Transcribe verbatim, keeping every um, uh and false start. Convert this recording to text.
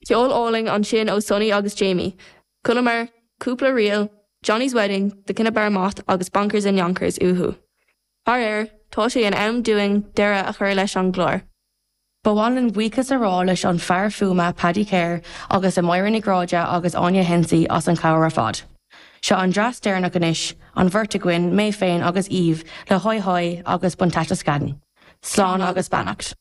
Ceol álainn ansin ó Sonny agus Jamie. Chualamar cúpla ríl, Johnny's Wedding, The Cinnabar Moth agus Bonkers in Yonkers uathu. Faraor, tá sé in am dúinn deireadh a chur leis an gclár. Ba mhaith linn buíochas a rá leis an fear fuaime Paddy Kerr agus a Máire Ní Ghráda agus Áine Hensey as an chabhair ar fad. Seo an dreas deireanach anois, an bheirt againn mé féin agus Eve le hoi hoi agus Buntastic Scaddon. Slán agus beannacht.